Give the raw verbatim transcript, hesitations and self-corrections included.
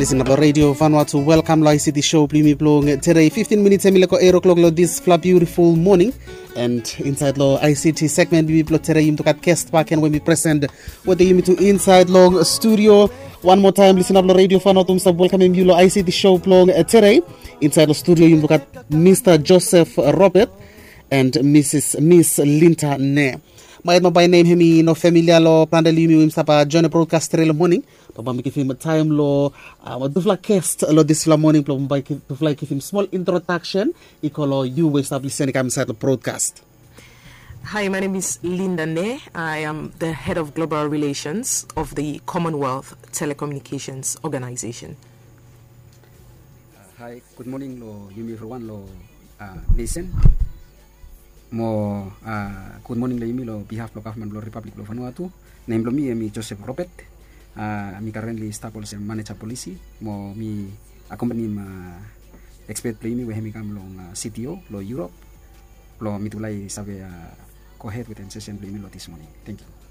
Lisin ap long Radio Vanuatu, welkam long I C T show blong yumi blong tedei. Fiftin minits hemi leko eight o'clock long disfala biutiful moning. And insaed long I C T segment blong yumi blong tedei, yumi tu gat gest bakegen we mi presen wetem yumi tu insaed long studio. Wan moa taem, lisin ap long Radio Vanuatu, mi stap welkamem yu long I C T show blong tedei. Insaed long studio yumi tu gat Mista Joseph Robert and Misis Miss Linda Ne. Maet mo bae nem hemi no familia long plante long yumi we yumi stap joen brodkast tedei long moning. Bambae mi givim taem long tufala gest long disfala moning blong bambae tufala i givim smol introdaksen i go long yu we i stap lisin i kam insaed long brodkast. Hi, my name is Linda Ne. I am the head of global relations of the Commonwealth Telecommunications Organization. Hi, gud moning long yumi evriwan long nesen. Mo gud moning long yumi long bihaf blong gavman blong Ripablik blong Vanuatu. Nem blong mi hemi Joseph Robert. Mi currently stap olsem maneja polisi mo mi akompanim ekspet blong yumi we hemi kam long C T O long Europe blong mitufala i save gohed wetem sesen blong yumi long dis moning. Tangkiu.